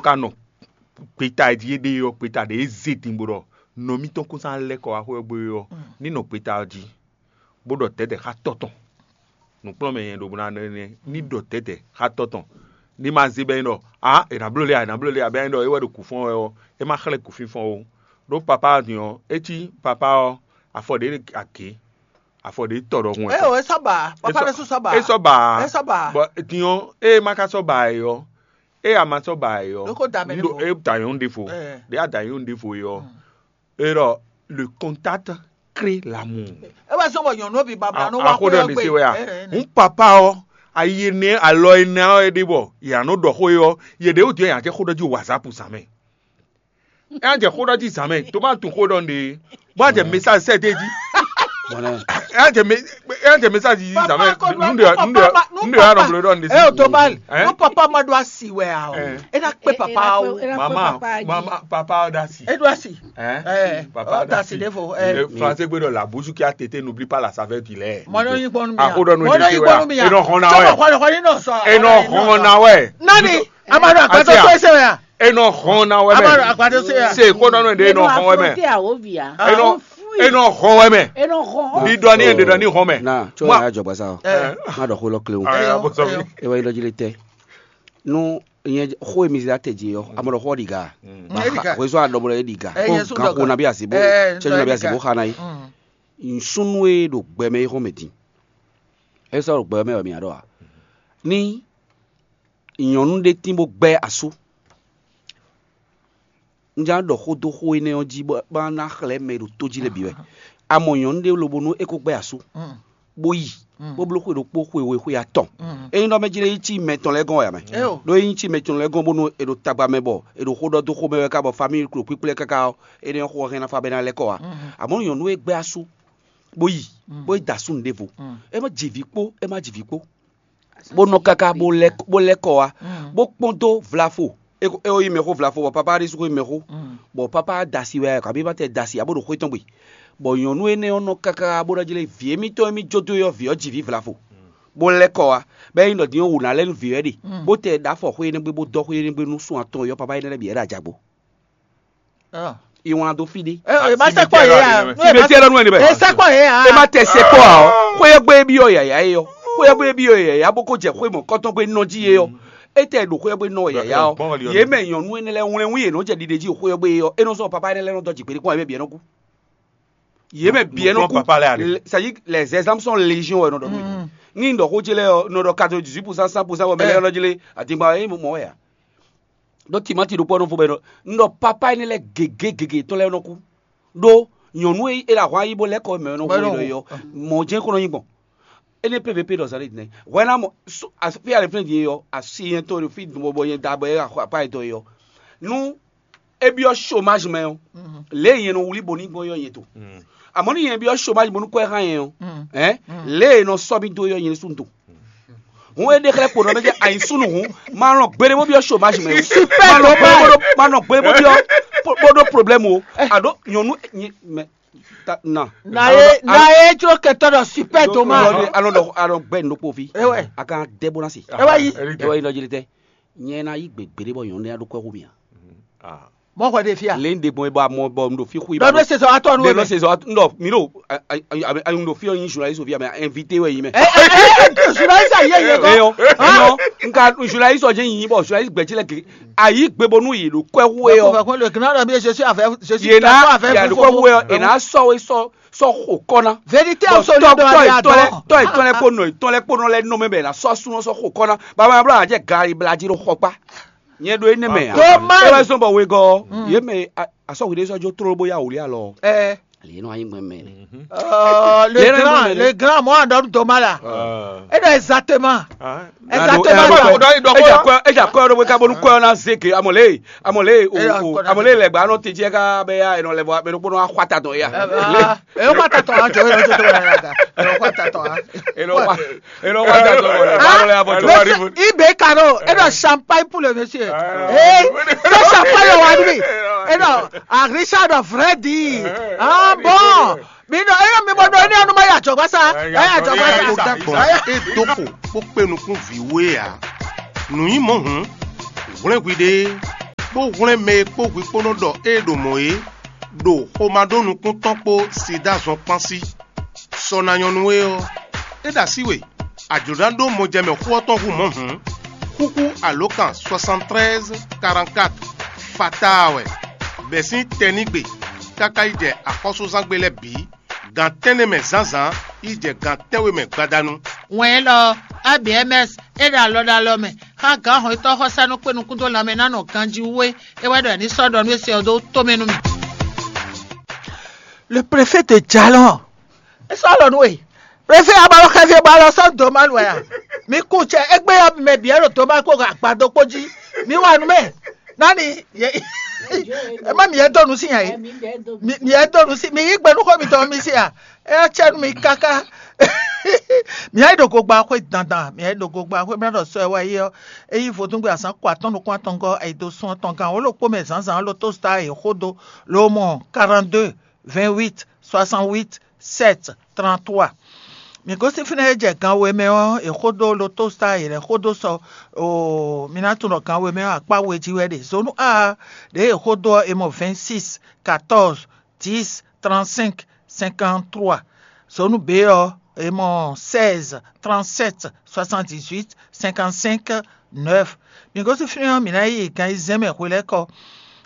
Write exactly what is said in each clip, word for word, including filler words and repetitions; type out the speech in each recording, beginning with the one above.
ka nɔ gbeta e jí é ɖe ɔ́, gbeta ɖě e zé din bó ɖɔ nɔ mítɔn kún sán lɛ́ kɔ wá xwé ɔ́ gbe ɔ́, ní nɔ gbeta ɔ́ jí, bó ɖɔ dɛ̌dɛ̌ xá tɔ́ tɔn. Nǔkplɔ́nmɛ nyɛ ɖo bó ná nɛ́ ní ɖɔ dɛ̌dɛ̌ xá tɔ́ tɔn. Ní ma zé bɛ́ nyí ɖɔ ǎ è nǎ bló lé ǎ, è nǎ bló lé ǎ, bɛ́ nyí ɖɔ é wɛ ɖo kǔ fɔ́n wɛ ɔ́, é má xlɛ́ kǔfínfɔ́n ó. Ɖó papá ɔ́ din ɔ́, é cí papá ɔ́, afɔ ɖě agě, afɔ ɖě tɔ ɖɔhun wɛ. É o, é sɔ́ ba, papa ɖésú sɔ́ ba. É sɔ́ ba. É sɔ́ ba. Bɔ din ɔ́, ée é má ka sɔ́ ba ɛ ɔ́, ée a ma sɔ́ ba ɛ ɔ́, Ɖó kó da mɛ ɖěvo. É da nyɔ̌nu ɖěvo. Ɛ. Ɖě a da nyɔ̌nu ɖěvo é ɔ́, é ɖɔ le contact crée l'amour. É wɛ zɔ́n bɔ nyɔ̌nu ɔ́ bǐ babla nɔ wá xwé ɔ́ gbe. Axóɖɔ ní se wɛ a? Ɛ, ɛ, ɛ. Hun papa ɔ́, ayi énɛ́ alɔ énɛ́ ɔ́ é ɖe bɔ yě nɔ ɖɔ xó é ɔ́, yě ɖě wú din ɔ́, yě ná jɛ xó ɖɔ jí whatsapp zǎn mɛ. É ná jɛ xó ɖɔ jí zǎn mɛ, tó má tunwun xó ɖɔ nɖe. Bó a jɛ message sɛ dé jí. Bɔnɛ. É ná jɛ me- é ná jɛ message jí zǎn mɛ. Nɖe nɖe nɖe ya nɔ bló ɖɔ nɖe. Ɛ o tó bá Ɛ? Nú papa ma ɖó asi wɛ a o. Ɛ. É ná kpé papa o. Mama, mama, papa ɔ́ ɖo asi. É ɖó asi. Ɛ? Ɛ, papa ɔ́ ɖo asi ɖěvo, ɛ. Français gbé ɖɔ la bouche qui a tété n'oublie pas la saveur du lait. Mɔdɔ yí gbɔnu mi. Axóɖɔ nu Mɔdɔ yí gbɔnu mi. E nɔ hɔn na wɛ. Sɔmɔ xɔlɛ xɔlɛ nɔ sɔ. E nɔ hɔn na wɛ. Nani, a ma ɖo agbadɔ tó ẹsẹ̀ wɛ a? E nɔ hɔn na wɛ mɛ. A ma ɖo agbadɔ tó ya. Se xóɖɔ nu ɖe e nɔ hɔn wɛ mɛ. Afronté à Ovia. E nɔ e nɔ hɔn wɛ mɛ. E nɔ hɔn. Ɖiɖɔ ni ɖiɖɔ ni hɔn mɛ. Na tsɔ ya jɔgba sa o. Ɛ. Má ɖɔ xó lɔ kle o. Ɛ, ɛ, ɛ. E wɛ yi lɔ jí le tɛ. Nú nyɛ xó e mi zé ate jí ɔ́, a mɔ ɖɔ xó ɖi ga. Ɛ, ɖi ga. Xwezɔ́ a ɖɔ bɔ ɖɔ é ɖi ga. Ɛ, yɛ sú Gan ɖɔ xo ga. Na bí asi bó. Ɛ, tsɛ na bí asi bó ga. Xa na yi. Mm. Nsúnú e ɖo gbɛ mɛ é xɔ́n mɛ din. É sɔ́ ɖo gbɛ mɛ wɛ mi ǎ ɖɔ a? Ní nyɔ̌nu ɖé tín bó gbɛ́ asú. Un ján ɖɔ xó dó xó énɛ́ ɔ́ jí bó ná xlɛ́ mɛ e ɖo tó jí lɛ́ɛ bǐ wɛ. A mɔ nyɔ̌nu ɖé lobo nú é kó gbɛ́ asú, bó yi, bó bló xwe ɖokpó xwe we xwe atɔn. Ényí ɖɔ mɛ jí lé yí cí mɛ tɔn lɛ́ɛ gɔ́n wɛ ǎ mɛ. Ɖó é nyí cí mɛ tɔn lɛ́ɛ gɔ́n bónú è ɖo tagba mɛ bɔ è ɖo xó ɖɔ dó xomɛ wɛ ká bɔ famíli klo kpíkplɛ́ káká ɔ́, énɛ́ ɔ́ xó ɔ́ hɛn ná fá bɔ é ná lɛ́ kɔ wá. Amɔ̌ nyɔ̌nu e gbɛ́ asú bó yi, bó yi da asú nǔɖévo. É má ji vǐ kpó, é má ji vǐ kpó. Bó nɔ káká bó lɛ́ bó lɛ́ kɔ wá, bó kpɔ́n dó vlafo. É ko- é ko yí mɛxó vlafo bɔ papá ɖésú ko yí mɛxó. Bɔ papá da asi wɛ kabí ma tɛ da asi abo ɖo xwé tɔn gbe. Bɔ nyɔ̌nu énɛ́ ɔ́ nɔ káká bó ná jlé vǐ émítɔn e mì jó dó é ɔ́, vǐ ɔ́ ji vǐ vlafo, bó lɛ́ kɔ wá. Bɔ é nyí ɖɔ din ɔ́ wǔ ná lɛ́ nú vǐ ɔ́ ɖe, bó tɛ ɖó afɔ xwé énɛ́ gbe bó dɔ́ xwé énɛ́ gbe nú sún atɔn ɔ́, papá énɛ́ lɛ́ɛ bǐ wɛ ɖo ajagbo. Iwlan dó fí ɖé. Ɛ, ɛ, ma sɛkpɔ yɛ ya. Ibe tí ɛ lɔ nú ɛ ní bɛ. Ɛ sɛkpɔ yɛ ya. E ma tɛ sɛkpɔ a ɔ. Xwéyɔ́gbé bí ɔ yàyà é yɔ. Xwéyɔ́gbé bí ɔ yàyà bó kó jɛ xwé mɔ kɔ́tɔ́gbé nɔ jí é yɔ. É tɛ ɖo xwéyɔ́gbé nɔ yàyà ɔ. Yě mɛ nyɔ̌nu énɛ́ lɛ́ɛ wlɛ́n wú yě nɔ jɛ ɖiɖe jí xwéyɔ́gbé é yɔ. É nɔ sɔ́ papa énɛ́ lɛ́ɛ nɔ dɔ́ jǐ kpéɖé kpɔ́n ɛ bɛ bǐ ɛ nɔ kú. Yě mɛ bǐ ɛ nɔ kú. C'est-à-dire, les exemples sont légion wɛ nɔ ɖɔ nú. Ní un ɖɔ xó ce lɛ́ɛ ɔ, nɔ ɖɔ quatre-vingt-dix-huit pour cent, cent pour cent wɛ mɛ lɛ́ɛ nɔ jlé adingba é mɔ wɛ a. Ɖó timati ɖokpó ɔ́ nɔ vo bɔ è nɔ un ɖɔ papa énɛ́ lɛ́ɛ gěgé gěgé tɔn lɛ́ɛ nɔ kú. Ɖó nyɔ̌nu e é ɖo ahwan yí bó lɛ́ kɔ mɛ ɔ́ nɔ hwe ɖɔ é ɔ́, mɔ̌ jɛ́n kɔn nɔ nyí gbɔn. Énɛ́ pépépé ɖɔ zǎn ɖé din. Hwɛ ná mɔ fí alɛflɛ́n din é ɔ́, asi nyɛ tɔn ɖo fí bɔ nyɛ da bɔ é apa yɛ tɔn é ɔ́. Nú é byɔ́ chômage mɛ ɔ́, lě e nyɛ nɔ wlí bo ní gbɔn é ɔ́ nyɛ to. Amɔ̌ ní nyɛ byɔ́ chômage bónú kɔ ɛ xá nyɛ ɔ́, ɛ̌, lě e è nɔ sɔ́ mì dó é ɔ́ nyɛ ɖésú un to. Hǔn é ɖe xlɛ́ kpo nɔ mɛ jɛ ayi súnnu hǔn, ma lɔn gbeɖé bó byɔ́ chômage mɛ. Super dommage. Ma lɔn gbeɖé bó byɔ́ bó ɖó problème o. A ɖó nyɔ̌nu mɛ na. Na ye na ye jlo kɛtɔ ɖɔ super dommage. Alɔ ɖɔ alɔ gbɛ nukpo fi. Ewɛ. A kan dɛ bó na se. Ewɛ yi. Ewɛ yi nɔ jeli tɛ. Nyɛ na yi gbe gbeɖé bɔ nyɔ̌nu ya ɖó kɔ́ xú mì a. Mɔ xɔ ɖe fia. Lé ń de gbɔn bɔ a mɔ bɔ un ɖo fi xú yi. Dɔ bɛ sezɔ atɔ nu. Dɔ sezɔ atɔ nu. Mi ɖo un ɖo fi ɔ yin journaliste fi amɛ invité wɛ yin mɛ. Journaliste ayi yɛ gɔ. Eyɔ eyɔ nka journaliste ɔjɛ yin bɔ journaliste gbɛtsi lɛ ke ayi gbebo nu yi ɖo kɔɛ hu yɛ. Ko fɛ ko le gina dɔ bi je suis avec je suis d'accord avec vous. Yena yɛ ɖo kɔɛ hu yɛ yena sɔ we sɔ sɔ xo kɔ na. Vérité absolue dɔ ya dɔ. Tɔ etɔn lɛ kpo nɔ etɔn lɛ kpo nɔ lɛ nɔ mɛ bɛ na sɔ sunɔ sɔ xo kɔ na. Baba bla jɛ gari bla ji ɖo xɔ kpa. Nyɛ ɖo énɛ́ mɛ a. Tó má. É wá zɔ́n bɔ wegɔ́ ɔ́, yě mɛ asɔ́hwi ɖé sɔ́ jó tlóló bó yá wǔ lé alɔ. Ɛ. Lě nɔ anyi gbɛn mɛ. Le grand le grand mɔ àdɔnu tó má la. É dɔ exactement. Exactement. Eja kɔ eja kɔ ɖo weka bónú kɔ na zeke amɔle amɔle o amɔle lɛ gba nɔ te jɛ ká bɛ ya ɛnɔ lɛ bɔ mɛ ɖokpó nɔ axɔ ata dɔn ya. Ɛ wọ́n pàtàkì tọ̀ àjọ ẹ̀ lọ́jọ́ tó wà lára. Ẹ lọ wá ẹ lọ wá jà sọ wọlé báwo lè abọ jọ wá rí mu. Ibe kano e dɔ champagne pour le monsieur. Ee se champagne wa ni mi e dɔ arisa dɔ vrai di. Ah bon. Mi dɔ e yɔ mi bɔ dɔ e ni anu ma ya jɔ gbasa. Ẹ yà jọ gbasa. Kó dàgbọ́n é dókò kó pé nukún vǐ wé ǎ. Nǔnyímɔ hǔn hwlɛ́nhwi ɖé. bó hwlɛ́n mɛ e kpó hwi kpó nɔ ɖɔ ée ɖo mɔ̌ é, ɖo xomá ɖó nukún tɔn kpó sida zɔn kpán sí. Sɔ ná nyɔ́ nú we ɔ́, é ɖo así we, a jlǒ ná ɖó mɔjɛmɛ xó ɔ́ tɔn hú mɔ̌ hǔn, xúxú alǒkan soixante-treize quarante-quatre fataa wɛ, bɛ̌ sín tɛnígbe káká yi jɛ axɔ́súzángbe lɛ́ɛ bǐ, gan tɛ́nnɛ mɛ zǎnzǎn yi jɛ gan tɛ́nwe mɛ gbadanu. Wɛn élɔ́ ɔ́, A B M S é ɖo alɔ ɖo alɔ mɛ xá gǎn hɔnnyitɔ́ xɔsánú kpé nukún dó lanmɛ ná nɔ ganjí wú é, é wɛ ɖɔ è ní sɔ́ ɖɔ nú é se ɔ́ dó tomɛ nú mì. Le préfet de Jalon. É sɔ́ lɔ nú we. Préfet abalɔ xɛfí bɔ alɔ sɔ́ dǒ ma lu wɛ a? Mi kú cɛ égbé ɔ́ mɛ bǐ wɛ ɖo dǒ ma kpó agbado kpó jí. Mi wa nú mɛ. Nani? Ema mi yɛ dó nu sí nya é. Mi yɛ dó nu sí. Mi yí gbe nú xó mitɔn mi sí a? É cɛ nú mi káká. Mi yɛ ɖo gogba xwé dandan. Mi yɛ ɖo gogba xwé mɛ ɖɔ sɔ ɛ wá yé ɔ́. É yí vodúngbe azán kɔ atɔ́n nukún atɔngɔ́ ayido sún atɔn gán wǒ ɖokpó mɛ zǎnzǎn lótó star e xó dó ló mɔ quarante-deux vingt-huit soixante-huit sept trente-trois. Mǐ gosín fínɛ́ e jɛ gan we mɛ ɔ́, è xó dó lotosita e lɛ̌ xó dó sɔ oo mi ná tunwun ɖɔ gan we mɛ ɔ́ akpá we jí wɛ ɖe. Zonu A ɖěe è xó dó ɔ́, è mɔ vingt-six, quatorze, dix, trente-cinq, cinquante-trois. Zonu B ɔ́, è mɔ seize, trente-sept, soixante-dix-huit, cinquante-cinq, neuf. Mǐ gosín fínɛ́ ɔ́, mǐ ná yi gan ayizɛ́n mɛ hwelɛ́kɔ.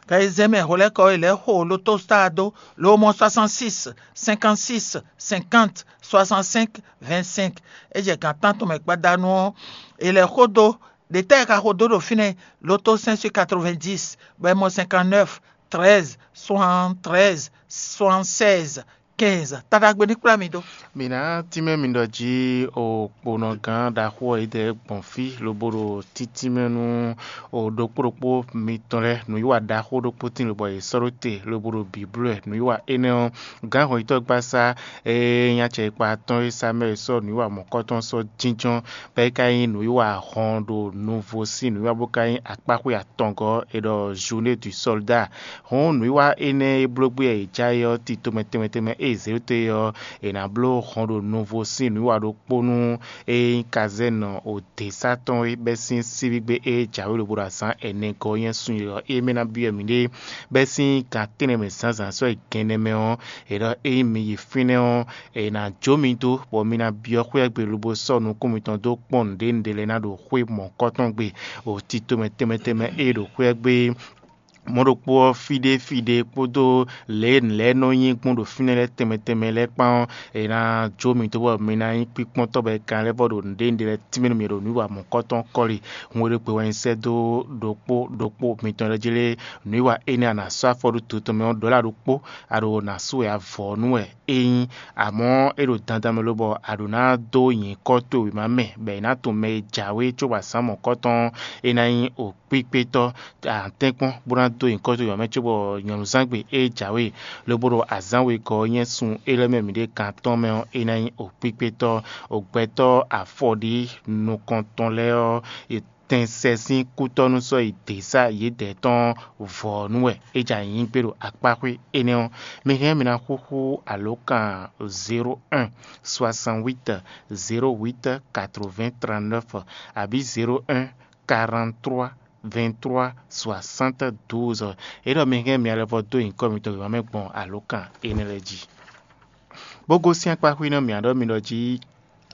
Gan ayizɛ́n mɛ hwelɛ́kɔ e lɛ̌ xo lotosita dó, lo mɔ soixante-six, cinquante-six, cinquante, soixante-cinq, vingt-cinq. É jɛ gǎn tántɔn mɛ gbadanu ɔ́, è lɛ̌ xo dó. Ɖě tɛ́ è ka xo dó ɖo fínɛ́? Loto cinq sur quatre-vingt-dix, bɔ è mɔ cinquante-neuf, treize, soixante-treize, soixante-seize, quinze. Taɖagbe ní kplá mi dó. Mǐ ná tínmɛ mi ɖɔ jí o kponɔgán ɖaxó ɔ́ yi dɛ gbɔn fí lobo ɖo títínmɛ nú o ɖokpó ɖokpó mitɔn lɛ́ɛ nǔwiwa ɖaxó ɖokpó tín lobɔ è sɔ́ ɖó te lobo ɖo bǐblú wɛ. Nǔwiwa énɛ́ ɔ́, gǎn hɔnyitɔ́gbasá e nyí acɛ e kpa atɔ́ɔ́n e sá mɛ è sɔ́ nǔwiwa mɔ̌kɔtɔn sɔ́ jínjɔ́n, bɔ é ka nyí nǔwiwa hɔn ɖo nuvo sín nǔwiwa bó ka nyí akpáxwé atɔngɔ́ è ɖɔ Journée du Soldat. Hɔn nǔwiwa énɛ́ e bló gbé wɛ è já é ɔ́, tito mɛ tɛnmɛ tɛnmɛ e zě te ɔ́, è nǎ bló hɔn ɖo nuvo sín nǔwiwa ɖokpó nú e nyí kazɛ́nɔ òděsá tɔn e bɛ́ sín síbígbe e jǎwe lobo ɖo azǎn ɛnɛ gɔ́ nyɛ sun e ɔ́, é mɛ ná byɔ́ mǐɖée bɛ́ sín gan tɛ́nnɛ mɛ zǎnzǎn sɔ́ yi gɛnnɛ mɛ ɔ́, è ɖɔ ényí mi yi fínɛ́ ɔ́, è nǎ jó mi dó, bɔ mi ná byɔ́ xwé ɔ́ gbe lobo sɔ́ nukún mitɔn dó kpɔ́n nǔɖé nǔɖé lɛ́ɛ ná ɖo xwé mɔ̌kɔtɔn gbe, o tito mɛ tɛnmɛ tɛnmɛ e ɖo xwé ɔ́ gbe mɔ̌ ɖokpó ɔ́, fí ɖé fí ɖé kpódó lě e nǔ lɛ́ɛ nɔ nyí gbɔn ɖo fínɛ́ lɛ́ɛ tɛnmɛ tɛnmɛ lɛ́ɛ kpán ɔ́, è nǎ jó mi dó bɔ mi ná nyí kpíkpɔ́ntɔ́ bɔ è ka lɛ́ vɔ ɖo nǔɖé ɖé lɛ́ɛ tínmɛ nú mi ɖo nǔ wa mɔ̌kɔtɔn kɔ́li. Hun e ɖo gbe wɛ nyi sɛ́ dó ɖokpó ɖokpó mitɔn lɛ́ɛ jí lé, nǔ e wa énɛ́ a nǎ sɔ́ afɔ ɖó to tɔn mɛ ɔ́ ɖɔ lɛ́ ɖokpó, a ɖo nǎ sú wɛ a vɔ̌ nú wɛ é nyí, amɔ̌ é ɖo dandan mɛ lobɔ a ɖǒ ná dó nyǐkɔ towe wěma mɛ, bɔ è nǎ tunwun mɛ e jǎwe cóbɔ azǎn mɔ̌kɔtɔn é ná nyí o kpíkpétɔ́ atɛ́nkpɔ́n bó ná dó nyǐkɔ towe wěma mɛ cóbɔ nyɔ̌nuzángbe é jǎwe lobo ɖo azǎn wegɔ́ ɔ́ nyɛ́ sun é lɛ́ mɛ mǐɖée kan tɔn mɛ ɔ́, é ná nyí o kpíkpétɔ́. O gbɛtɔ́ afɔɖí nukɔntɔn lɛ́ɛ ɔ́, tɛnsɛ sín kútɔ́nú sɔ́ yi dě sá yědɛɛ tɔn vɔ̌ nú wɛ é jɛ anyǐ gbé ɖo akpáxwé énɛ́ ɔ́. Mi hɛn mi ná xúxú alǒkan zéro un soixante-huit zéro huit quatre-vingts trente-neuf abǐ zéro un quarante-trois vingt-trois soixante-douze. É ɖɔ mi hɛn mi alɛvɔ dó nyǐkɔ mitɔn wěma mɛ gbɔn alǒkan énɛ́ lɛ́ɛ jí. Bó gosín akpá xwí nɔ mǐ ɖɔ mi ɖɔ jí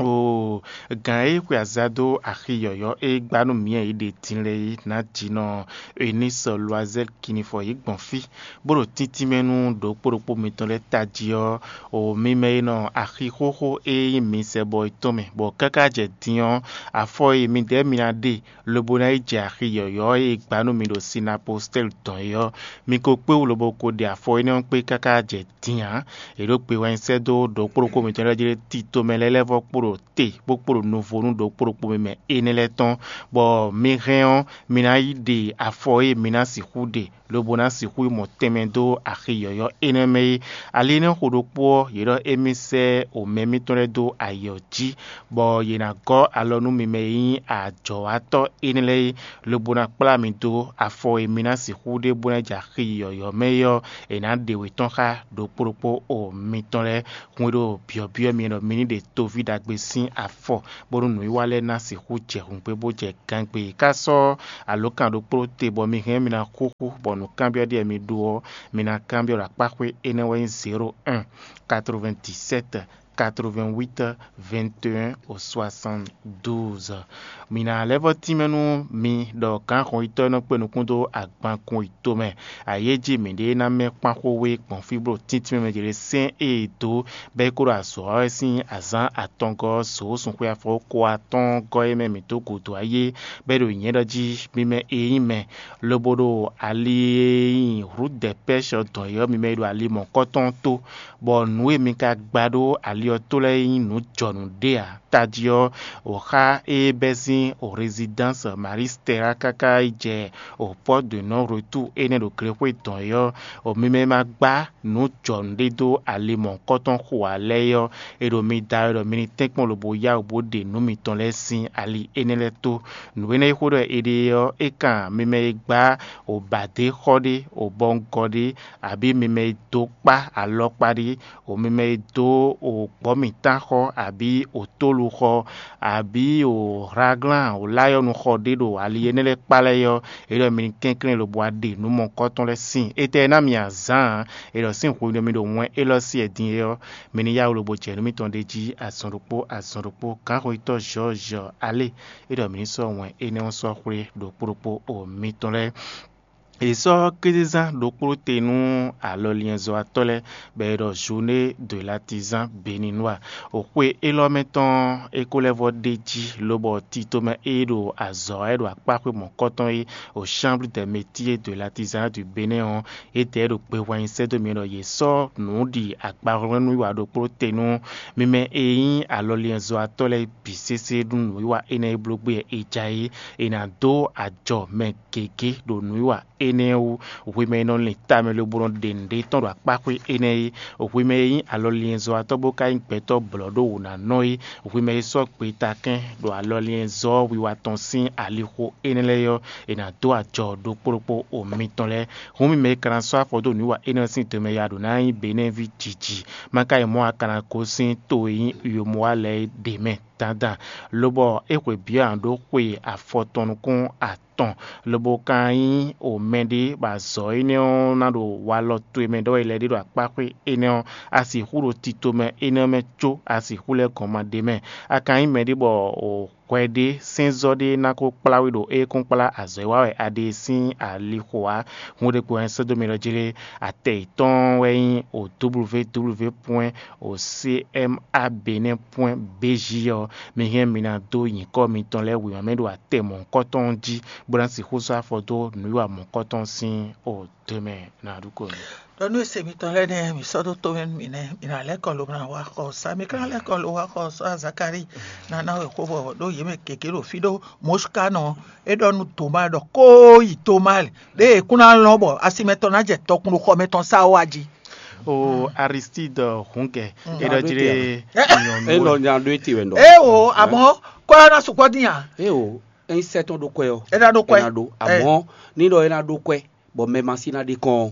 oo, gǎn e xwe aza dó axi yɔ̌yɔ́ e gbá nú mǐ e yě ɖe din lɛ́ɛ é ná jǐ nɔ Enísɔ Loazɛ́l Kinifɔ yě gbɔn fí, bó ɖo tíntín mɛ nú ɖokpó ɖokpó mitɔn lɛ́ɛ tají ɔ́, o mi mɛ e nɔ axi xóxó e nyí mi sɛ bɔ é tɔn mɛ, bɔ káká jɛ din ɔ́, afɔ e midɛɛ mi ná ɖe lobo ná yi jɛ axi yɔ̌yɔ́ e è gbǎ nú mi ɖo Sinapostɛ́li dɔn é ɔ́, mi ko kpé wú lobo ko ɖe afɔ énɛ́ ɔ́ kpé káká jɛ din ǎ. È ɖǒ gbe wɛ nyi sɛ́ dó ɖokpó ɖokpó mitɔn lɛ́ɛ jí lé tito mɛ lɛ́ɛ lɛ́ɛ vɔ́ kpo ɖo te bó kpo ɖo nuvo nú ɖokpó ɖokpó mi mɛ énɛ́ lɛ́ɛ tɔn, bɔ mi hɛn ɔ́, mi ná yi ɖe afɔ e mi ná sixú ɖe, lobo ná sixú yi mɔ tɛnmɛ dó axi yɔ̌yɔ́ énɛ́ mɛ é. Ali énɛ́ xo ɖokpó ɔ́, yě ɖɔ émí sɛ́ omɛ mitɔn lɛ́ɛ dó ayǐ ɔ́ jí, bɔ yě ná gɔ́ alɔ nú mi mɛ e nyí ajɔ̌watɔ́ énɛ́ lɛ́ɛ é, lobo ná kplá mi dó afɔ e mi ná sixú ɖe bó ná jɛ axi yɔ̌yɔ́ mɛ é ɔ́, è nǎ ɖe wě tɔn xá ɖokpó ɖokpó o mitɔn lɛ́ɛ. Hun e ɖo byɔ̌byɔ́ mi ɔ́, mi ní ɖe toví ɖagbe sín afɔ, bónú nǔwiwa lɛ́ɛ ná sixú jɛ hǔngbé bó jɛ gangbé. Ká sɔ́ alǒkan ɖokpó te bɔ mi hɛn mi ná xúxú, bɔ nǔkanbyɔ́ ɖíe mi ɖó ɔ́, mi ná kanbyɔ́ ɖo akpáxwé énɛ́ wɛ nyí zéro un, quatre-vingt-dix-sept, quatre-vingt-huit, vingt et un au soixante-douze. Mi ná lɛ́ vɔ́ tínmɛ nú mi ɖɔ gǎnxɔnyitɔ́ e nɔ kpé nukún dó agbankun yi tomɛ ayéjí mǐɖée ná mɛ kpán xó we gbɔn fí bó ɖo tíntín mɛ jlé sɛ́n e è dǒ bɔ é kó ɖo azɔ̌ wa wɛ sín azǎn atɔngɔ́ ɔ́ zǒ sunxwé afɔwókɔ atɔ́ɔ́ngɔ́ e mɛ mǐ dó gǔdo ayé, bɔ é ɖo nyɛ̌ ɖɔ jí mi mɛ e nyí mɛ, lobo ɖo ali e nyí Rudɛpɛ́shɔ dɔn é ɔ́, mi mɛ e ɖo ali mɔ̌kɔtɔn ɔ́ tó, bɔ nǔ e mi ka gba ɖó ali ɔ́ tó lɛ́ɛ nyí nǔ jɔnǔ ɖé ǎ. Tají ɔ́, wǒ xá e bɛ́ sín Résidence Marie Stella káká yi jɛ o Porte de Non Retour énɛ́ ɖo glexwé dɔn é ɔ́, o mi mɛ ma gbá nǔ jɔnǔ ɖé dó ali mɔ̌hunkɔtɔn xo ǎ lɛ́ɛ é ɔ́, è ɖo mi da wɛ ɖɔ mi ní tɛ́nkpɔ́n lobo yá wǔ bó ɖe nǔ mitɔn lɛ́ɛ sín ali énɛ́ lɛ́ɛ tó. Nǔ énɛ́ e xó ɖɔ è ɖe é ɔ́, é kan mi mɛ e gbá o bǎdé xɔ ɖé, o bɔngɔ ɖé, abǐ mi mɛ e dó kpá alɔkpa ɖé, o mi mɛ e dó o gbɔ̌mǐtán xɔ, abǐ o tólu xɔ, abǐ o hlaglán o láyɔ́nu xɔ ɖé ɖo ali énɛ́ lɛ́ɛ kpá lɛ́ɛ é ɔ́, é ɖɔ mi ní kɛnklɛ́n lobo wá ɖe nǔ mɔ̌kɔtɔn lɛ́ɛ síin. Étɛ́ ná mi azǎn ǎ, é ɖɔ sín hwenu e mi ɖo wɛn élɔ́ sí wɛ din é ɔ́, mi ní yá wǔ lobo jɛ nǔ mitɔn ɖ'é jí azɔn ɖokpó azɔn ɖokpó. Gǎnxɔyítɔ́ Jɔ́ɔ́jɔ alé, é ɖɔ mi ní sɔ́ wɛn énɛ́ ɔ́ sɔ́ xwlé ɖokpó ɖokpó o mitɔn lɛ́ɛ. È sɔ́ kézezán ɖokpó te nú alɔliɛnzɔ́watɔ́ lɛ́ɛ, bɔ è ɖɔ Journée de l'Artisan Béninois. O xwe élɔ́ mɛ tɔn é ko lɛ́ vɔ ɖ'é jí, lobɔ tito mɛ e ɖo azɔ̌ wɛ ɖo akpáxwé mɔ̌kɔtɔn é, o Chambre des Métiers de l'Artisanat du Bénin ɔ́, é dɛ ɖo gbe hwɛnyi sɛ́ dó mi ɖɔ yě sɔ́ nǔ ɖi agbahwlɛ́nú wiwa ɖokpó te nú mi mɛ e nyí alɔliɛnzɔ́watɔ́ lɛ́ɛ bǐ sésé nú nǔwiwa énɛ́ e bló gbé wɛ è ja é. È nǎ dó ajɔ mɛ gěgé ɖo nǔwiwa énɛ́ wú. Hwemɛ e nɔ lin tamɛ lobo nɔ ɖe nǔɖé tɔn ɖo akpáxwé énɛ́ é, hwemɛ e nyí alɔliɛnzɔ́watɔ́ bó ka nyí gbɛtɔ́ blɔ̌ ɖó wǔ ná nɔ é, hwemɛ e sɔ́ gbetakɛ́n ɖo alɔliɛnzɔ́ wiwa tɔn sín alixo énɛ́ lɛ́ɛ ɔ́, è nǎ dó ajɔ ɖokpó ɖokpó o mitɔn lɛ́ɛ. Hǔn mi mɛ e ka ná sɔ́ afɔ dó nǔwiwa énɛ́ ɔ́ sín tɛnmɛ ya ɖǒ ná nyí Benɛ́ví jiji, má ka yi mɔ a ka ná gosín to e nyí Uyomɔwa lɛ́ɛ é ɖě mɛ dandan, lobɔ é xwe byɔ̌ ǎ ɖó xwe afɔtɔn nukún atɔn, lobo ka nyí o mɛɖé bɔ azɔ̌ énɛ́ ɔ́ ná ɖo walɔ towe mɛ ɖɔ wɛ lɛ́ ɖé ɖo akpáxwé énɛ́ ɔ́, a sixú ɖo tito mɛ énɛ́ ɔ́ mɛ có a sixú lɛ́ gɔn ma ɖ'é mɛ. A ka nyí mɛɖé bɔ o hwɛ ɖé sɛ́nzɔ́ ɖé ná ko kplá we ɖo é kún kplá azɔ̌ e wa wɛ a ɖe sín alixo ǎ. Hun ɖé gbe wɛ sɛ́ dó mi ɖɔ jí lé, atɛ yětɔn wɛ nyí o www point o cma benin point bj ɔ́, mi hɛn mi ná dó nyǐkɔ mitɔn lɛ́ɛ wěma mɛ ɖo atɛ mɔ̌hunkɔtɔn jí, bó ná sixú sɔ́ afɔ dó nǔwiwa mɔ̌hunkɔtɔn sín o dɔmɛ ná ɖu ko nú. Ɖɔ nú ese mitɔn lɛ́ɛ nɛ́ mi sɔ́ dó tomɛ nú mi nɛ́, mi ná lɛ́ kɔ lo ná wá xɔ sa, mi ka ná lɛ́ kɔ lo wá xɔ sa Zakalíi, ná ná wɛ xó bɔ ɖó yě mɛ gěgé ɖo fí ɖó Mɔ̌sukanɔ, é ɖɔ nú Toma ɖɔ kó yi Toma lɛ, ɖěe è kún ná lɔn bɔ asi mɛtɔn ná jɛ tɔkun ɖo xɔ mɛtɔn sá wá jí. O Aristide Hungɛ, é ɖɔ jí lé nyɔ̌nu. É nɔ nya ɖó ete wɛ nɔ. É o, àmọ́ kɔ́ ná sukpɔ́ dín a? É o, é nyí sɛ́ tɔn ɖó kwɛ ɔ́. É ná ɖó kwɛ. É ná ɖó, àmọ́ ní ɖɔ é ná ɖó kwɛ, bɔ mɛ ma sí ná ɖe kɔn ɔ́.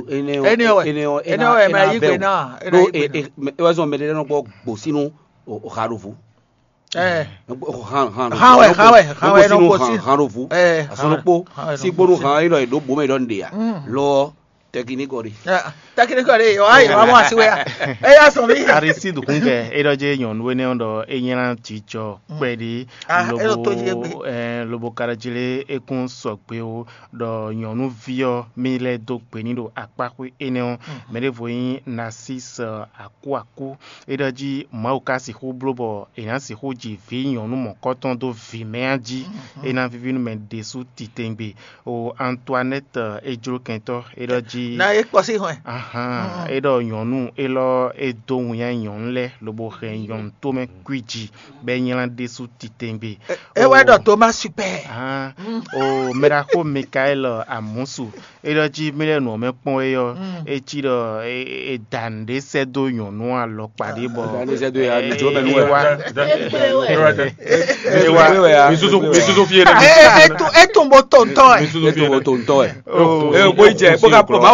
Énɛ́ ɔ́, énɛ́ ɔ́, énɛ́ ɔ́, é ná yí gbe ná. Ɖó é wɛ zɔn mɛ ɖé nɔ gbɔ gbǒsínú o ha ɖo vo. Ɛ. Han han Han wɛ, han wɛ, han wɛ nɔ gbosín. Han ɖo vo. Ɛ. Asɔnukpo, han wɛ nɔ gbosín. Sígbónú han élɔ́ è ɖǒ bǒ mɛ ɖɔ nɖe a. Lɔ ɔ tɛkinikɔ ɖe. Tɛkinikɔ ɖe, ɔ ayi wa mɔ asi wɛ a. Eya sɔn mi. Aristide Hungɛ, é ɖɔ jɛ nyɔ̌nu énɛ́ ɔ́ ɖɔ é nylá jijɔ kpɛɖi. Ah, é ɖo tó jí égbé. Lobo ɛ lobo ka ɖɔ jí lé é kún sɔgbe o, ɖɔ nyɔ̌nuví ɔ́ mi lɛ́ dó gbe ní ɖo akpáxwé énɛ́ ɔ́. Mɛ ɖěvo nyí Narcisse Akuaku. É ɖɔ jí Mawu ka sixú bló bɔ è nǎ sixú ji vǐ nyɔ̌nu mɔ̌kɔtɔn dó vǐ mɛ a jí, é ná víví nú mɛ ɖésú titewungbe. O Antoinette, é jló kɛntɔ́, é ɖɔ jí. Na é kpɔ́ sí hwɛn. Ahan, é ɖɔ nyɔ̌nu élɔ́ é dó winnyá nyɔ̌nu lɛ́ɛ lobo hɛn nyɔ̌nu tómɛ kwíji, bɔ é nylá ɖésú titewungbe. É wɛ ɖɔ Thomas super. Ahan, o mɛɖaxó Mikaɛl Amusu, é ɖɔ jí mí lɛ́ nǔ ɔ́ mɛ kpɔ́n é ɔ́, é cí ɖɔ é da nǔɖé sɛ́ dó nyɔ̌nu alɔkpa ɖé bɔ. Da nǔɖé sɛ́ dó ya, ní jló mɛ nú wɛ. É wá. Mi susu, mi susu fie ɖe. É tún bó to ntɔ́ ɛ. Mi susu fie ɖe. To ntɔ́ ɛ. Ee, bó yi jɛ, bó ka kpɔ, má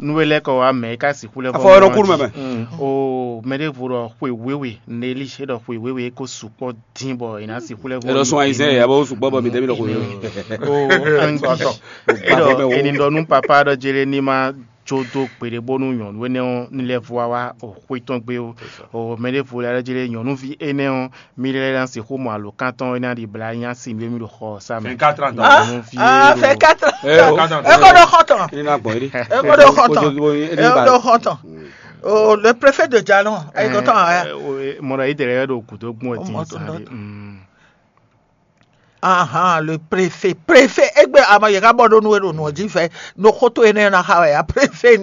Nú é lɛ́ kɔ wá mɛ é ká sixú lɛ́ vɔ. Afɔ ɔ́ ɖo kúnú mɛ mɛ. O mɛ ɖěvo ɖɔ xwe wěwe, Nelly é ɖɔ xwe wěwe é kó sukpɔ́ dín bɔ è nǎ sixú lɛ́ vɔ. È ɖɔ sún ayizɛ́n yɛ bó sukpɔ́ bɔ mi tɛ́ mi ɖɔ xwe wěwe. O angi é ɖɔ è nǐ ɖɔ nú papa ɖɔ Jereníma jó dó gbeɖé bónú nyɔ̌nu énɛ́ ɔ́ ní lɛ́ vɔ wá wá o xwé tɔn gbé ó. O mɛ ɖěvo lɛ́ ɖɔ Jere nyɔ̌nuví énɛ́ ɔ́, mí lɛ́ ná sixú mɔ alǒkan tɔn é ná ɖi blá nyá si mí mí ɖo xɔ ɔ́ sá mɛ. Vingt-quatre ans. Nyɔ̌nuví Ah, é ɖo- vingt-quatre ans. É o. Vingt-quatre ans. É ko ɖo xɔ tɔn. Ní ná gbɔn é ɖi. É ko ɖo xɔ tɔn. Kó jó bó é É ní ba. Ko ɖo xɔ tɔn. O le préfet de Jalon, é ko tɔn ɛ. Mɔɖɔ yí dɛrɛ ɖo gǔdo gbɔn ɛ Ọmọ dín tó ń tán lọ. Dé. Mm. Ahan, le préfet, préfet, egbe ama yɛ ka bɔ ɖo nu e ɖo nɔ jí fɛ, no xótó énɛ́ na xa wɛ ya préfet.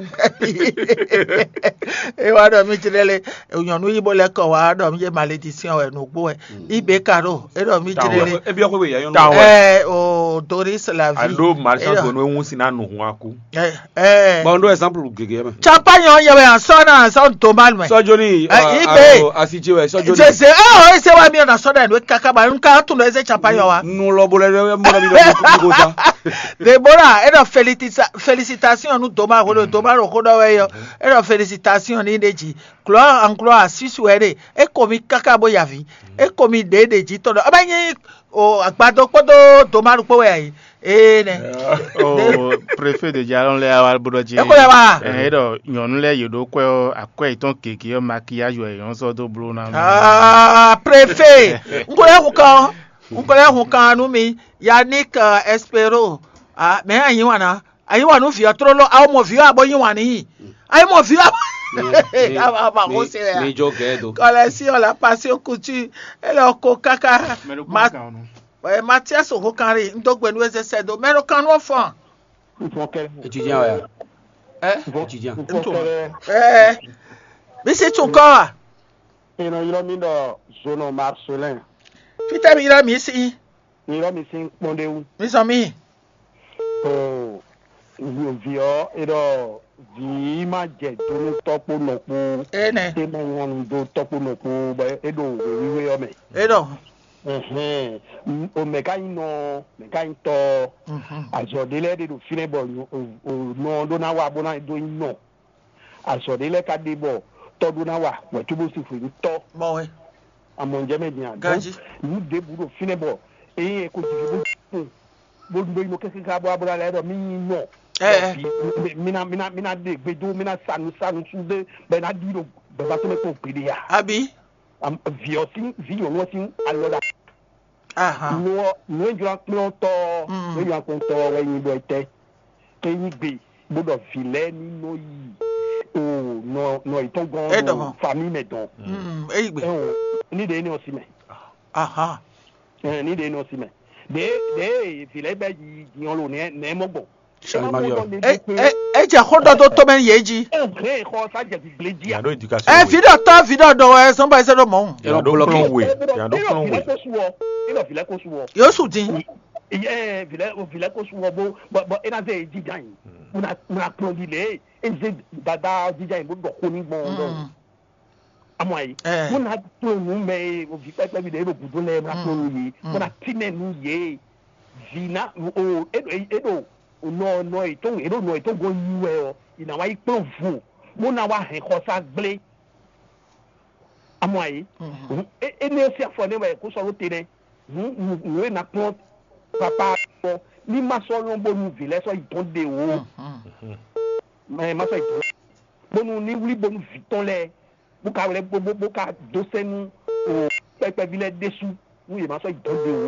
E wa ɖɔ mi jlɛ le, nyɔnu yi bo lɛ kɔ wa ɖɔ mi ye malédiction wɛ no gbo wɛ. Ibe ka ɖo, e ɖɔ mi jlɛ le. Ebi ɔkwe ya yɔn. Ɛ o Doris la vie. Alo marchand de nu ehun si na nu hun aku. Ɛ ɛ. Bon, ɖo exemple gege mɛ. Champagne ɔ́ yɛ wɛ asɔ na asɔ doma mɛ. Sɔjoni. Ɛ, ibe. Asi ce wɛ sɔjoni. Zeze ɛ o ese wa mi na sɔ dɛ no kaka ba n ka tun do ese champagne wa. Nu lɔ bo lɛ mɔ na mi lɔ mi ko sa. Deborah, e ɖɔ felicita- felicitation nu doma ko ɖo doma ɖo xó ɖɔ wɛ yɔ. E ɖɔ felicitation ni ɖe dzi. Gloire en gloire, susu wɛ ɖe. E ko mi kaka bo yavi. E ko mi ɖe ɖe dzi tɔ ɖɔ. Ɔba nyi o agbadɔ kpɔdɔ doma ɖo kpɔ wɛ ayi. Ee nɛ. O préfet de Jalon lɛ awa bo ɖɔ jí. Eko lɛ wa. Ɛ e ɖɔ nyɔnu lɛ yě ɖo kwɛ ɔ́ akwɛ yětɔn gěgé ɔ́ maquillage wɛ yɔn sɔ́ dó bló ná. Ah, préfet. N ko lɛ hun kan. N ko lɛ hun kan nú mi. Yannick euh, Espero. Ah, mɛ anyi wana. Anyi wa nú vǐ ɔ́ tlóló. Awo mɔ vǐ ɔ́ abo nyi wàn n'i. Ayi mɔ vǐ ɔ́. Aba ko se wɛ. Mi jó gɛɛ do. Kɔlɛ si ɔ́ la pasi okutu. Ele ɔko kaka. Mɛ ɖo Ma- kpɔ́n kan ɔ́ nɔ. Ɛ Matias Hokanri, n dó gbe nú eze sɛ do. Mɛ ɖo kan nú ɔfɔn. Étudiant wɛ. Ɛ? Étudiant. Ɛ. Bisi tún kɔ wa. Inɔ ylɔ mi ɖɔ Zono Marcelin. Fitɛ mi ylɔ mi si. Mi ylɔ mi sin kpɔn ɖe wú. Mi sɔ mi. To vǐ ɔ́ é ɖɔ vǐ ma jɛ do nú tɔ́ kpó nɔ kpó. Énɛ́. É ma nya nu dó tɔ́ kpó nɔ kpó bɔ é ɖo wěwíwé ɔ́ mɛ. É ɖɔ. Ɛhɛn, o mɛ ka nyí nɔ, mɛ ka nyí tɔ. Azɔ ɖé lɛ́ɛ ɖe ɖo fínɛ́ bɔ nɔ ɖó ná wá bó ná dó nyí nɔ. Azɔ ɖé lɛ́ɛ ka ɖe bɔ tɔ ɖó ná wá wɛ cóbó si xwe nyí tɔ. Mɔ wɛ. Amɔ njɛ mɛ din a? Ganji. Nǔ ɖěbǔ ɖo fínɛ́ bɔ eye ko jiji bó bó bó yi nɔ kɛkɛ ká bó abúlé alɛ ɖɔ mí nyí nɔ. Mina mina mina ɖe gbedo mina sanu sanu su ɖe bɛ na ɖi ɖo bɛba tɔn mɛ kpɔn gbeɖe ya. Abi. Viɔ sin vi nyɔnu sin alɔ ɖa. Aha. Nua nua jɔ akplɔ tɔ. Nua jɔ akplɔ tɔ wɛ nyi bɔ etɛ. Ke nyi gbe bó ɖɔ vi lɛ ni nɔ yi o nɔ nɔ itɔn gɔn. Eɖɔ. Fami mɛ dɔn. Eyi gbe. Ni ɖe ne ɔsi mɛ. Aha. Ni ɖe ne ɔsi mɛ. Ɖe ɖe vi lɛ bɛ yi diɔn lo nɛ nɛ mɔ gbɔn. Ejɛ xó dɔ tó tó mɛ yé dzi. Ɛ xɔ sa jɛ gbigble dzi a. Ɛ vi dɔ tɔ vi dɔ dɔ wɛ sɔn ba ɛsɛ dɔ mɔ. Yàrá dó kplɔn wè. Yàrá dó kplɔn wè. Ina vilɛ ko suwɔ. Ina vilɛ ko suwɔ. Yóò sùn dín. Ɛ vilɛ vilɛ ko suwɔ bó bɔ bɔ ina zɛ jíjà yìí. Muna muna kplɔn di lɛ. Eze dada jíjà yìí bó dɔ kó ní gbɔn dɔ. Amɔ ayi. Muna kplɔn nu mɛ ye o vi pɛpɛ bi de e do gudo lɛ muna kplɔn nu ye. Muna tinɛ nu ye. Vi na o e do e do nɔ nɔ etɔn e do nɔ etɔn gɔn yi wɛ ɔ. Ina wa yi kplɔn vo. Muna wa hɛn xɔsa gblé. Amɔ ayi. Ene si afɔ ne wɛ ko sɔ lo te nɛ. Nǔ e na kplɔn papa kpɔ ní ma sɔ lɔn bónú vǐ lɛ́ɛ sɔ yi tɔn ɖe o. Mɛ ma sɔ yi tɔn bónú ní wlí bónú vǐ tɔn lɛ́ɛ bó ka wlɛ bó bó ka dó sɛn nú o kpɛkpɛví lɛ́ɛ ɖésú nú yě ma sɔ yi tɔn ɖe o.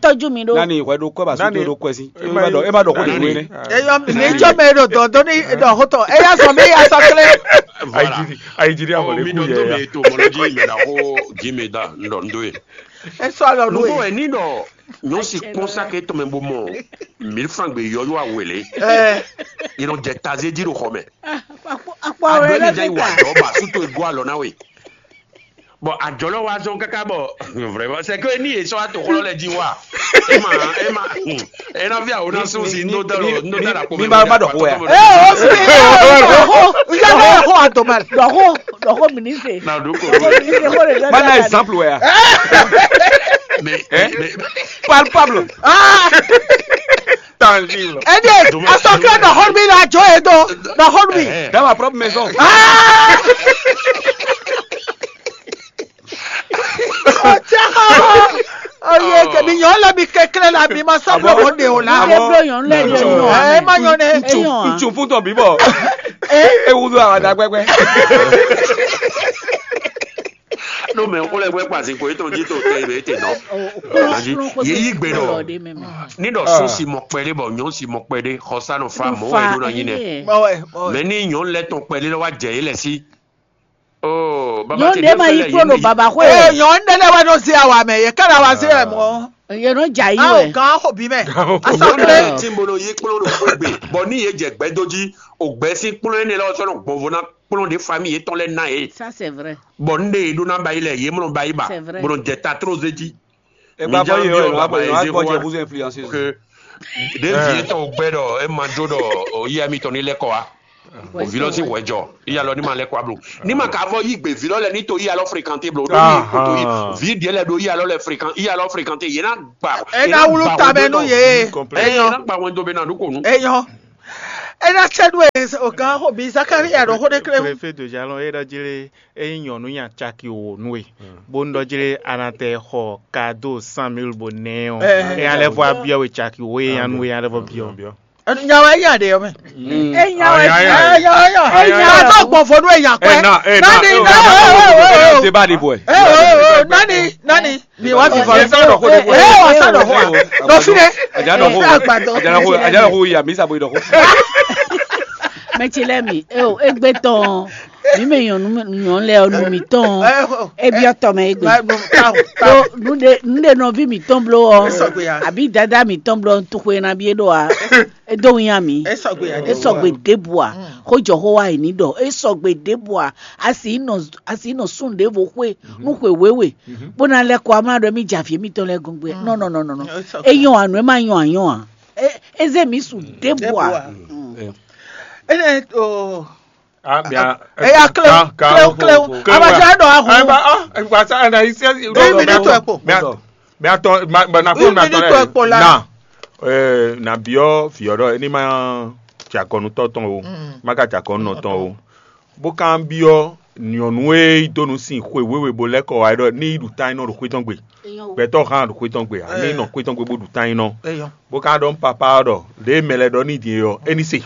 tɔjú mi ɖó. Nani hwɛ ɖo kɔ ba su Nani. to ɖo kɔ si. Nani. E ma ɖɔ e ma ɖɔ ko ɖe wele. Eyɔ mi ní jɔ mɛ ɖo dɔn dó ní ɖɔ xótɔ. Eya sɔ mi ya sɔ klé. Voilà. Ayididi ayididi Oh, amɔ mi lé kú ɖɔ yɛ tó ya. mi to mɔlɔ jí mɛ ɖa xó jí mi da ŋɖɔ ŋɖɔ ye. Esɔ alɔ nu Nugbo ye. Ɛ ní ɖɔ nyɔ̌ si kpɔ́n sáké tɔn mɛ bó mɔ mil franc gbé yɔyɔ awele. Ɛ Yɛ nɔ jɛ tazé jí ɖo xɔ mɛ. Akpɔ akpɔ Adɔ rẹ ɛni dza yi wa lẹ́gbẹ̀ta. Adɔ ba su to ego alɔ na we. Bon, adɔ lɔ wa zɔn kaka bɔ vraiment c'est que ni yesɔ ato xlɔ lɛ ji wa. Ema ema ena vi awo na sun si no da lɔ no da la ko. Mi ma ma ɖɔ xó ya. Ɛ o si ɛ o ya lɛ xɔ atoma. Ɖɔxo ɖɔxo mi ní se. Na do ko. Ɖɔxo mi ní se xó ɖe dɔ. Mana exemple wɛ ya. Mais Hein? mais Palpable. Aa Tangible. Ɛdi asɔkɛ dɔ xɔlumi la jɔ ye dɔ dɔ xɔlumi. eh, Dans ma propre maison. Aa. Ɔtí ɔyɛ kɛmi nyɔ lɛ mi kɛkɛlɛ la mi ma sɔ Ah blɔ bon? mɔ de o la. Ah Ɛ bon? ma nyɔ nɛ. Ntsu Ɛ ma nyɔ nɛ. ntsu Eyɔn a. Ntsu fún tɔn bíbɔ. Ewu do àwọn àdàgbẹgbẹ. no mɛ ko lɛ gbɛ kpasi ko etɔn ji to tɛ ibe ete nɔ. Anyi ye yi gbe nɔ. Ni dɔ sun si mɔ kpɛɖe bɔ nyɔn si mɔ kpɛɖe xɔsa nɔ fa mɔ wɛ ɖo na nyi nɛ. Mɔ wɛ mɔ wɛ. Mɛ ni nyɔn lɛ tɔn kpɛɖe lɛ wa jɛ yi lɛ si. Oh, baba Nyɔnu ti ɖe ma yi kpɔ́n ɖo baba xwe Ee o. Nyɔnu ɖe lɛ wɛ nɔ zé awa mɛ yɛ kára wa zé wɛ mɔ. Yɛ nɔ dza yi Awo wɛ. gan xɔ bi mɛ. Gan xɔ bi. Asɔkɛ. Tí mo nɔ yí kplɔ́n ɖo xwé gbe, bɔ ní yě jɛ gbɛdó jí, ògbɛ sín kplɔ́n énɛ́ lɔ sɔ́ nɔ gbɔn vo ná kplɔ́n ɖě famille yětɔn lɛ́ɛ ná é. Ça c'est vrai. Bɔ ní ɖe yě ɖó ná ba yi lɛ, yě mɔ ba yi ba, C'est vrai. bó nɔ jɛ ta tró zé jí. Ẹ gba Mi já bɔ yẹ bí ọ ọba ẹ bàyè wá zé gbọ́ kó jẹ wá. búzú influenceuse. Que Ɖě vǐ étɔn ò gbɛ́ ɖɔ é ma jó ɖɔ o yíyá mitɔn ní lɛ́ kɔ wá. O vǐ lɔ sín hwɛjɔ, yíyá lɔ ní ma lɛ́ kɔ wá blo. Ní ma ka vɔ yí gbe vǐ lɔ lɛ́ɛ ní to yíyá lɔ fréquenté blo. Ɖó ní kò to yí vǐ ɖě lɛ́ɛ ɖo yíyá lɔ lɛ́ɛ fréquent, yíyá lɔ fréquenté, yě ná gba. É ná wlú ta mɛ nú yě. É ná gba wɛn dó be ná ɖó kò nú. É nyɔ́. É ná cɛ nú ɛ o gǎn xo bí Zakáriya ɖɔ xó ɖé klé wú. Préfet de jalon é ɖɔ jí lé, é nyí nyɔ̌nu nya caki wǒ nú we, bónú ɖɔ jí lé a nǎ tɛ xɔ kado cent mille bó nɛ ɔ́, é ná lɛ́ vɔ abyɔ́ we caki wǒ é nya nú we é ná lɛ́ vɔ byɔ́. Nya wɛ nya ɖe ɔmɛ. É nya wɛ nya wɛ nya. Nya wɛ gbɔn fɔ nú ɛ nya kɔɛ. Nani nani. Débat de boy. Nani nani. Mi wá fi fɔ. Ɛ wà sá dɔ fún wa. Dɔ fi dɛ. Àjà dɔ fún. Àjà dɔ fún. Àjà dɔ fún. Yà mí sàbò dɔ fún. Mɛ ce lɛ mi e o egbe tɔn mi mɛ nyɔnu nyɔnu lɛ ɔnu mi tɔn ebi ɔtɔ mɛ egbe. Ɖó nu de nu de nɔvi mi tɔn blo ɔ àbí dada mi tɔn blo tuxwe na bi e ɖo a e do nya mi. E sɔgbe ɖebu a xo jɔ xo wa yi ni ɖɔ e sɔgbe ɖebu a asi nɔ asi nɔ sun ɖevo xwe nu xwe wewe bó ná lɛ kɔ amlá ɖɔ mi javi mi tɔn lɛ gɔngbe nɔ nɔ nɔ nɔ nɔ e nyɔ anu e ma nyɔ anyɔ a. Eze mi su ɖebu a. Ene o. Ah, bien. Eya kleo kleo kleo. Abadza ɖɔ ahu. Ɛgba ah ɛgba sa ɛna isi ɛsi. Deux minutes ɛ kpo. Mɛ atɔ mɛ atɔ na fún mi atɔ lɛ na ɛɛ na biɔ fiɔ ɖɔ ɛni ma tsi akɔnutɔ tɔn o, ma ka tsi akɔnunɔ tɔn o. Bó kan biɔ nyɔnu e yi dó nu sin xwe wéwe bó lɛ́ kɔ wá ɖɔ ní yi ɖu tán nɔ ɖo xwé tɔn gbe. Gbɛtɔ́ hán ɖo xwé tɔn gbe a ní nɔ xwé tɔn gbe bó ɖu tán nɔ. Bó ka ɖɔ nú papa ɔ́ ɖɔ lě e mɛ lɛ́ɛ ɖɔ n'i din é ɔ́, é ní se.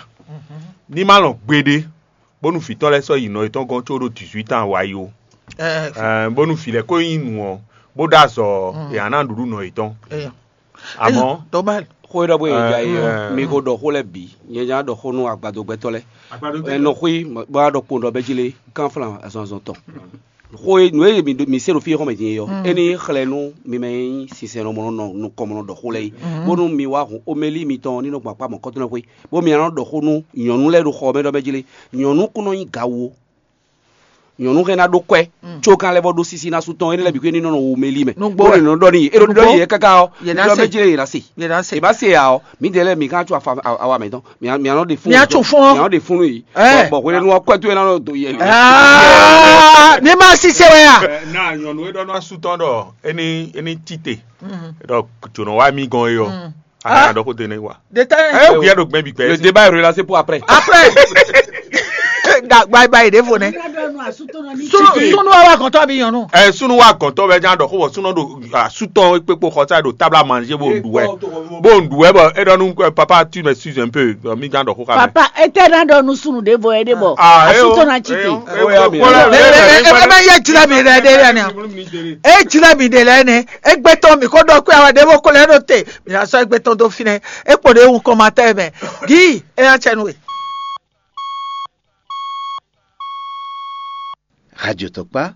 Ní má lɔn gbeɖé bónú vǐ tɔn lɛ́ɛ sɔ́ yi nɔ yětɔn gɔ́n có ɖó dix-huit ans wá yi ó. Ɛɛ, bónú vǐ lɛ́ɛ ko nyí nǔ ɔ́, bó ɖó azɔ̌ ɔ́, è nǎ ná nǔɖuɖu nɔ yětɔn. Amɔ̌, xó e ɖɔ bó e ja yi ɔ́, mi ko ɖɔ xó lɛ́ɛ bǐ, nyɛ nya ɖɔ xó nú agbadogbɛtɔ́ lɛ́ɛ. Ɛ nɔ xwí bó wá ɖɔ kpowun ɖɔ bɛ́ jí lé gán flan azɔn azɔn tɔn. Xó e nǔ e mi mi se ɖo fí e xɔmɛ din é ɔ́, é ní xlɛ́ nú mi mɛ e nyí sinsɛnnɔ mɔ nɔ nukɔn mɔ nɔ ɖɔ xó lɛ́ɛ é, bónú mi wá hun omeli mitɔn ní nɔ gbɔn akpá mɔ̌kɔtɔn xwé, bó mi nɔ ɖɔ xó nú nyɔ̌nu lɛ́ɛ ɖo xɔ ɔ́ mɛ ɖɔ mɛ jí lé. Nyɔ̌nu kún nɔ nyí gawo. Nyɔ̌nu hɛn ná ɖó kwɛ́ có kan lɛ́ vɔ ɖó sísí ná sú tɔn énɛ́ lɛ́ɛ bǐ xwé ní nɔ nɔ wo omeli mɛ. Nǔgbó bó wɛ. Nɔ ɖɔ n'i é ɖɔ ɖɔ n'i é káká ɔ́, yě ná se. Mɛ jí lé yě ná se. Yě ná se. È má se ǎ ɔ́, mǐdɛɛ lɛ́ɛ mǐ ká có awa mǐtɔn. Mǐ á nɔ ɖe fún. Mǐ á tso fún ɔ́. Mǐ á nɔ ɖe fún nú yě. Bɔ hwenɛ́nu ɔ́ kɔ́ towe ná nɔ do yɛ. Ní ma si se wɛ ya. Na nyɔnu e ɖɔ nɔ asú tɔn ɖɔ é ní é ní tite ɖɔ jǒnɔ wá mí gɔn é ɔ́, a nɔ ɖɔ xó dé nɛ wa. Ɛ ó gbìyà ɖo gbɛn bi gbɛ. Le débat est relancé pour après. Après. Gba gba yi ɖe vo nɛ. Sunu wa wa kɔntɔ bi nyɔnu. Ɛ sunu wa kɔntɔ bɛ jan dɔ xó bɔ sunu do asutɔ kpekpo xɔsa do tabla manje bo ndu wɛ bo ndu wɛ bɔ e dɔ nu papa tu me suis un peu mi jan dɔ xó xa mɛ. Papa etɛ na dɔ nu sunu de vo ede bɔ asutɔ na tsi te. Ebe ye jila mi ɖe ɖe ɖe ni. E jila mi ɖe lɛ ne. Egbe tɔn mi ko dɔ kpe awa de bo ko lɛ do te. Mi na sɔ egbe tɔn do fi nɛ. E kpo de wu kɔmatɛ mɛ. Gi e na tsɛ nu we. Radio Tokpa,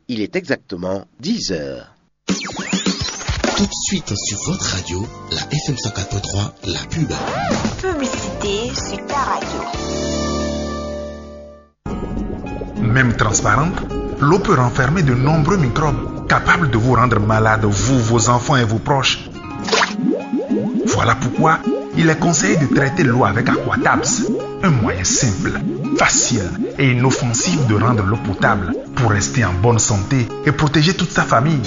il est exactement dix heures. Tout de suite sur votre radio, la F M cent quatre point trois, la pub. Publicité sur ta radio. Même transparente, l'eau peut renfermer de nombreux microbes capables de vous rendre malade, vous, vos enfants et vos proches. Voilà pourquoi il est conseillé de traiter l'eau avec Aquatabs. Un moyen simple, facile et inoffensif de rendre l'eau potable pour rester en bonne santé et protéger toute sa famille.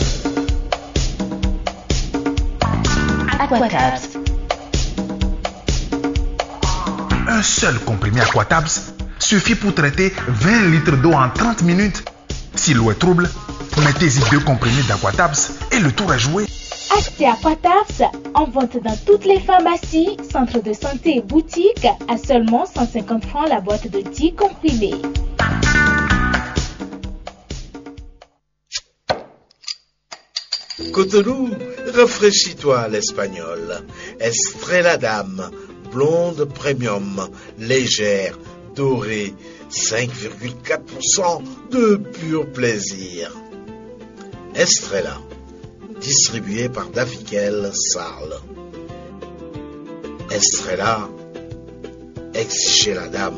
Aquatabs. Un seul comprimé Aquatabs suffit pour traiter vingt litres d'eau en trente minutes. Si l'eau est trouble, mettez-y deux comprimés d'Aquatabs et le tour est joué. Achetez Aquatabs en vente dans toutes les pharmacies, centres de santé et boutiques à seulement cent cinquante francs la boîte de dix comprimés. Cotonou, rafraîchis-toi à l'espagnol. Estrella Dame, blonde premium, légère, dorée, cinq virgule quatre pour cent de pur plaisir. Estrella, distribué par Davikel Sarl. Estrella, ex chez la dame.